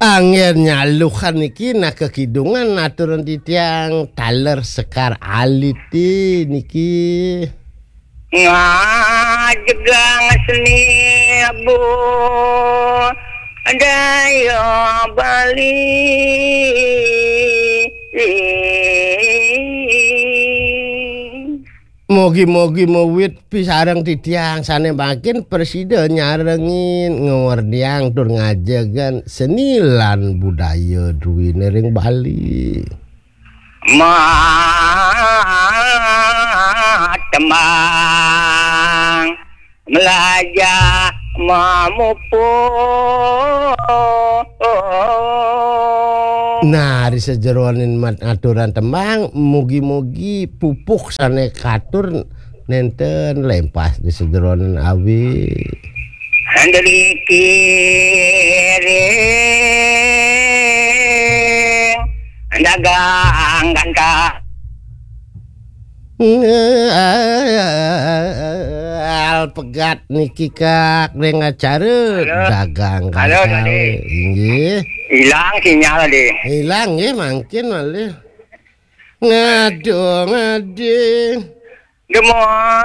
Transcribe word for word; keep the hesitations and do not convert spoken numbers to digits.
Anggen nyalukan niki, nah, kekidungan aturan titiang taler sekar alit niki. Ngajegang seni budaya Bali. Mogi-mogi mawit pisareng titiang sane mangkin prasida nyarengin, ngwerdiang tur ngajegan seni lan budaya druwine ring Bali. Ma tembang melajah mamupuk. Nah, ri sajeroning mat-, aturan tembang, mugi-mugi pupuk sane katur nenten lempas ri sajeroning awi. Andri kiring dagang gantah. Al pegat niki, Kak, ring acara. Halo. Dagang. Halo, kantale. Dadi. Inggih. Ilang sinyal, Dadi. Ilang nggih, mangkin malih. Ngadu ngadi. Demogi